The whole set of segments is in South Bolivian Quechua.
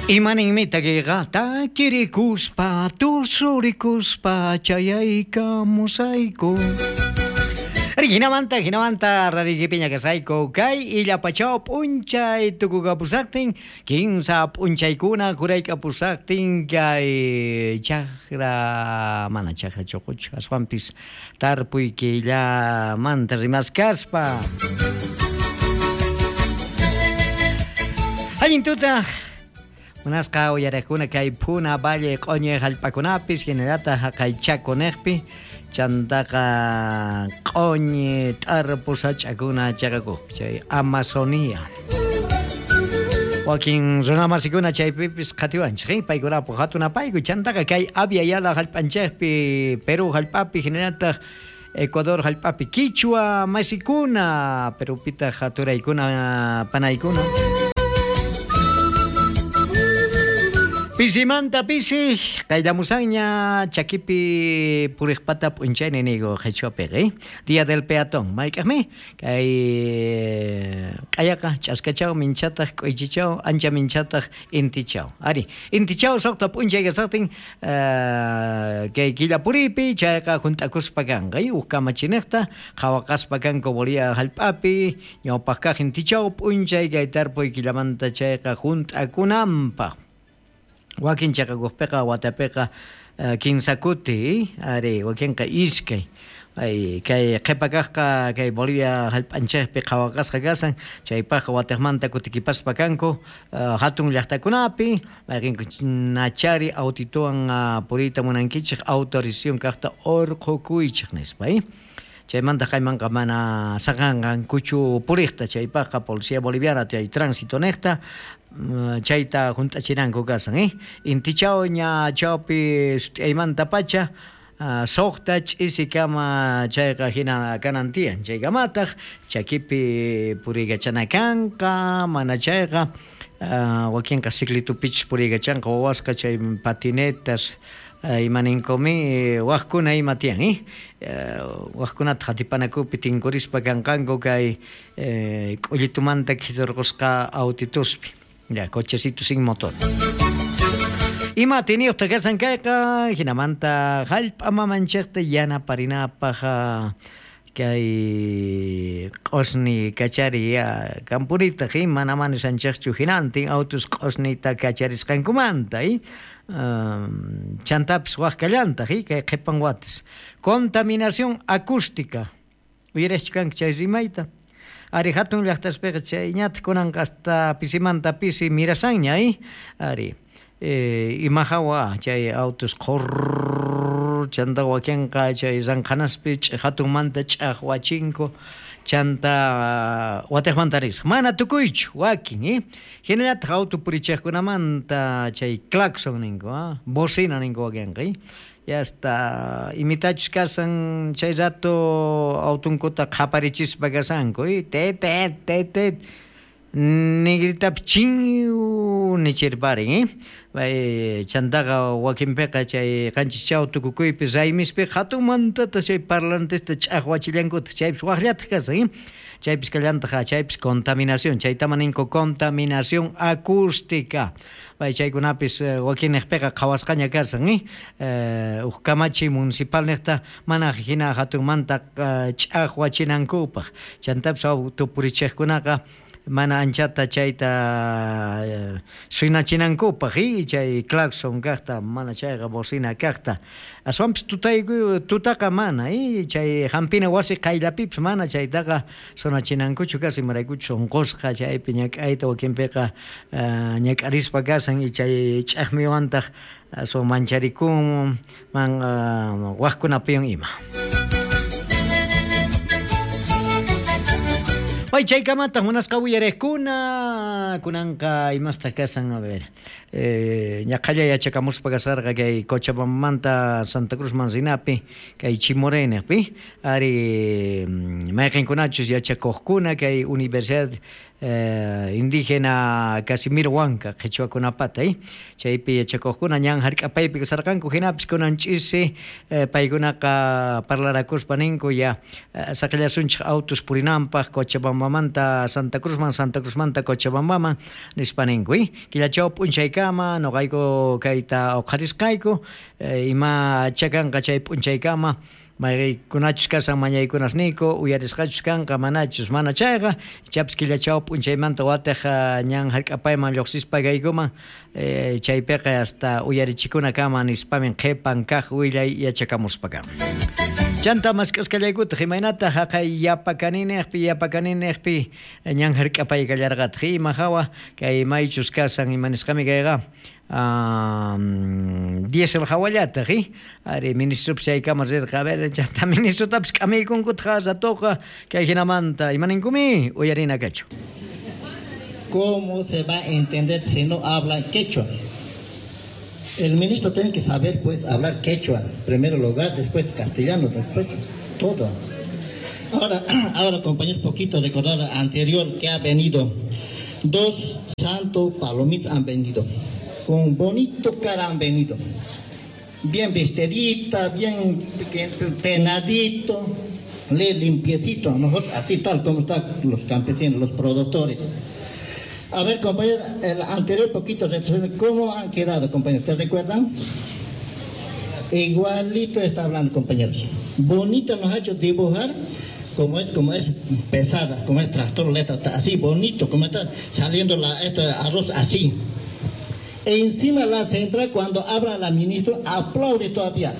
Imaninmi takiqa takirikuspa tusurikuspa chayaykamusayku. Hinamanta, hinamanta radioykipiña kasayku kay illapachaw p'unchay tukukapusaqtin kinsa p'unchaykuna jurayk'apusaqtin kay chakra mana chakra chuquchu aswanpis tarpuy killamanta rimaskaspa. Allin tuta munasqa uyariqkuna kay Puna Valle q'uñi hallp'akunapis hinallataq haqay Chaco niqpi chantaqa q'uñi t'arpu sach'akuna chaqakuqpi chay Amazonía. Wakin runamasikuna chaypipis qhatiwanchik, paykunapu hatun apayku chantaqa kay Abya Yala hallp'anchikpi, Perú hallp'api hinallataq Ecuador hallp'api kichwa masikuna, Perupitaq haturaykuna panaykuna. Pisimanta pisi qayllamusanña chakipi puriqpata p'unchayni niyku qhichwapiqa, Día del Peatón mayk'aqmi kay q'ayaqa ch'askachaw minchataq k'uychichaw ancha minchataq intichaw. Ari, intichaw suqta p'unchay kasaqtin kay killa puriypi chayqa hunt'akuspa kanqa, huk kamachiniqta qhawaqaspa kanku Bolivia hallp'api ñawpaq kaq intichaw p'unchay kay tarpuy killamanta chayqa hunt'akunanpaq. Wakin chaqakuqpiqa watapiqa kinsa kuti, ari, wakinqa iskay. Ay, kay qhipa kaqqa kay Bolivia hallp'anchikpi qhawaqasqa kasan, chaypaqqa watiqmanta kutikipaspa kanku hatun llaqtakunapi, mayqinku nachari autituwan puriyta munankichik autorización kaqta urqhukuychik nispa, Chaymanta kaymanqa mana saqanqankuchu puriqta, chaypaqqa Policía Boliviana chay tránsito niqta chayta hunt'achinanku kasan, Intichaw ña chawpi sut'iyaymantapacha suqta ch'isikama chayqa hina kanan tiyan, chaykamataq chakipi puriykachana kanqa, mana chayqa wakinqa ciclitupichus puriykachanqa wawasqa chay patinetas imaninkumi wajkuna ima tiyan, wajkunata qatipanakupi tinkurispa kanqanku kay k'ullitumanta khiturqusqa autituspi, ya cochecito sin motor. Ima atiyniyuqta kasan kayqa hinamanta hallp'a mamanchikta yanaparinapaq kay q'usni kachariy kampunitaq, mana mana nishanchikchu hinantin autos q'usnita kacharisqankumanta, chantapis waj kallantaq kay qhipan watas. Contaminación acústica, uyariqchu kanki chay rimayta? Ari, hatun llaqtaspiqa chayñataq kunanqa hasta pisimanta pisi mirasanña, ari, ima hawa chay autos qhurr chanta wakinqa chay ranqhanaspi hatunmanta ch'aqwachinku chanta watiqmanta risaq mana tukuychu wakin, hinallataq auto purichiqkunamanta chay claxon ninku, bocina ninku wakinqa, ya hasta imitachus kasan chay rato autunkuta qhaparichispa kasanku, tet tet tet tet nigritapi chin nichirparin, chantaqa wakinpiqa chay qanchis chaw tukukuypi raymispi hatunmantata chay parlantesta ch'aqwachillankutaq chaypis waqllataq kasan, chaypis kallantaq chaypis contaminación, chaytama ninku contaminación acústica. Chaykunapis wakinniqpiqa qhawasqaña kasan, huk kamachiy municipal niqta mana hina hatunmanta ch'aqwachinankupaq, chantapis auto purichiqkunaqa mana anchata chayta suynachinankupaq, chay claxon kaqta mana chayqa bocina kaqta, aswanpis tutaqa mana, chay hampina wasi qayllapipis mana chaytaqa sonachinankuchu kasan, imaraykuchus unqusqa chaypi ñak'ayta wakinpiqa ñak'arispa kasan, chay ch'aqmiwantaq aswan mancharikun man waqkunapiwan ima. Ay, chaykamataq munasqa uyariqkuna kunanqa imastaq kasan, a ver, ñaqhalla yachakamuspa kasarqa kay Cochabambamanta Santa Cruzman rinapi kay Chimoré niqpi, ari, mayqinkunachus yachakuqkuna kay Universidad Indígena Casimiro Huanca qhichwakunapata chaypi yachakuqkuna ñan hark'apaypi kasarqanku hinapis kunan ch'isi paykunaqa parlarakuspa ninku ya saqillasunchik autos purinanpaq Cochabambamanta Santa Cruzman, Santa Cruzmanta Cochabambaman nispa ninku killachaw p'unchaykama nuqayku kayta uqharisqayku imacha kanqa chay p'unchaykama mayqinkunachus kashan mañaykunasniyku uyarisqachus kanqa manachus mana chayqa ichapis killachaw p'unchaymanta watej ñan hark'apayman lluqsispa kaykuman chaypiqa hasta uyarichikunakama nispamin qhipan kaq willay yachakamuspa kan. Chanta mask'asqallaykutaq imaynataq haqay yapakaninejpi yapakaninejpi ñan hark'apay kallarqataq ima hawa kay maychus kasan ima nisqami kayqa diésel hawallataq ari ministropis chaykama rirqa a ver chanta ministrotapis k'amiykunkutaq ratoqa kay hinamanta imaninkumi uyarina kachu. ¿Cómo se va a entender si no habla quechua? El ministro tiene que saber, pues, hablar quechua, en primer lugar, después castellano, después todo. Ahora, compañero, poquito recordar anterior que ha venido. 2 santos palomitas han venido, con bonito cara han venido, bien vestidita, bien penadito, le limpiecito, nosotros así tal como están los campesinos, los productores. A ver, compañero, el anterior poquito, ¿cómo han quedado, compañeros? ¿Te recuerdan? Igualito está hablando, compañeros. Bonito nos ha hecho dibujar como es pesada, como es tractor, letra, así bonito, como está saliendo este arroz así. E encima la central, cuando habla la ministra, aplaude todavía,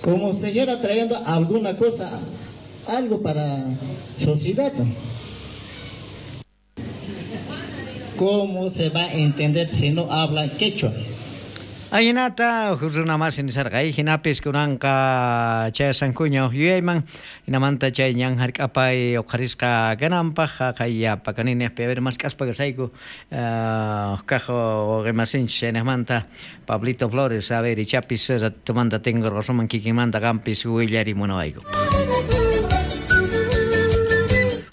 como si fuera trayendo alguna cosa, algo para sociedad. ¿Cómo se va a entender si no habla quechua? Ahinata runa masi nisarqa hinapis kunanqa chayasankuña uj yuyayman hinamanta chay ñan hark'apay uqharisqa kananpaq haqay yapakaninejpi a ver mask'aspa kasayku kaq wawqimasinchik chaynejmanta Pablito Flores a ver ichapis ratomanta tinkurqasuman kikinmanta qampis willarimunawayku.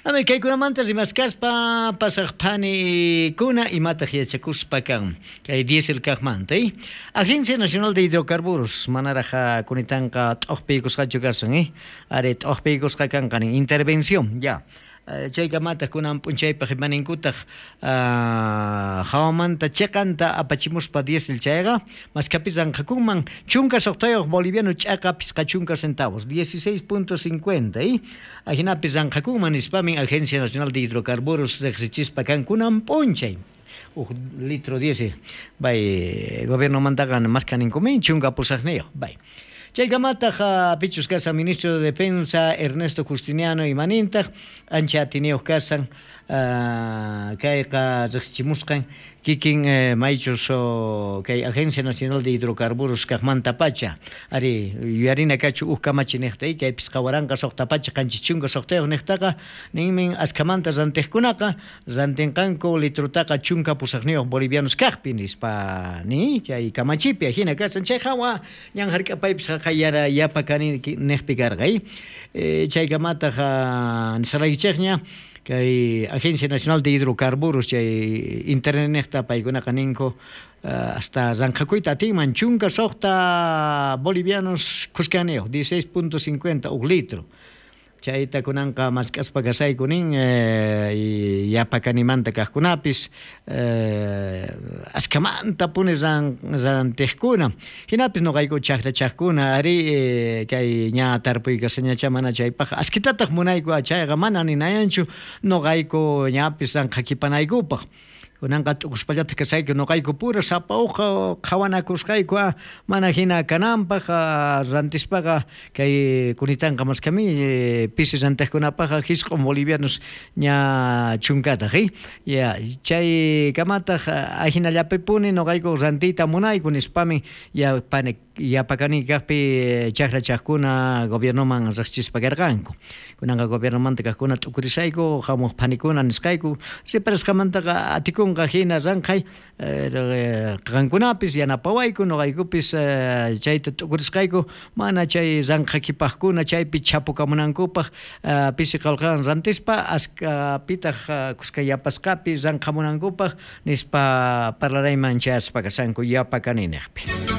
A ver, kaykunamanta rimaskaspa pasaq phanikuna imataq yachakuspa kan kay diésel kaqmanta Agencia Nacional de Hidrocarburos manaraj kunitanqa t'uqpiykusqachu kasan ari t'uqpiykusqa kanqa nin intervención ya chaykamataq kunan p'unchaypaq imaninkutaq hawamanta chiqanta apachimuspa diésel chayqa maskapis ranqakunman 16 boliviano ch'aqa 50 centavos 16.50 ajinapis ranqakunman nispamin Agencia Nacional de Hidrocarburos riqsichispa kan kunan p'unchay uj litro diésel bay gobiernomantaqa maskhaninkumin 18 bay. Chaykamataq pichus kasan ministro de Defensa Ernesto Justiniano imanintaq ancha atiniyuq kasan kayqa riqsichimusqan kikin maychus kay Agencia Nacional de Hidrocarburos kaqmanta pacha ari yuyarina kachu uj kamachi niqta kay 56 niqtaqa ninmin askhamanta rantiqkunaqa rantinqanku litrutaqa 18 bolivianos kaqpi nispa ni chay kamachipi ajina kasan chay hawa ñan hark'apaypis haqayara yapa kani niqpi karqa chaykamataq nisaraykichikña kay Agencia Nacional de Hidrocarburos chay internetnejta paykunaqa ninku hasta ranqhakuyta atinman 16 bolivianos khuskaniyuq 16.50 uj litro chayta kunanqa mask'aspa kasayku nin yapakanimanta kaqkunapis askhamanta puni rantiqkuna hinapis nuqayku chaqrachaqkuna ari kay ña tarpuykasañacha mana chaypaq askitataq munayku chayqa mana ninayanchu nuqayku ñapis ranqhakipanaykupaq kunanqa t'ukuspallataq kasayku nuqayku pura sapa uqa qhawanakusqayku mana hina kananpaq rantispaqa kay kunitanqa maskami pisi rantiqkunapaqqa 9 bolivianos ña chunkataq ya chaykamataq ajinallapipuni nuqayku rantiyta munayku nispami ya pane Yapakani kajpi chajrachajkuna gobiernoman riqchispa karqanku. Kunanqa gobiernomanta kajkuna t'ukurisayku, jamuq phanikuna nisqayku, reparasqamantaqa atikunqa jina ranqhay, qankunapis yanapawayku, noqaykupis chayta t'ukurisqayku, mana chay ranqhakipajkuna chaypi chhapukamunankupaj pisi qolqewan rantispa, askapitaq kuska yapasqapi ranqhamunankupaj nispa parlarayman chayaspa kashanku Yapakani nejpi.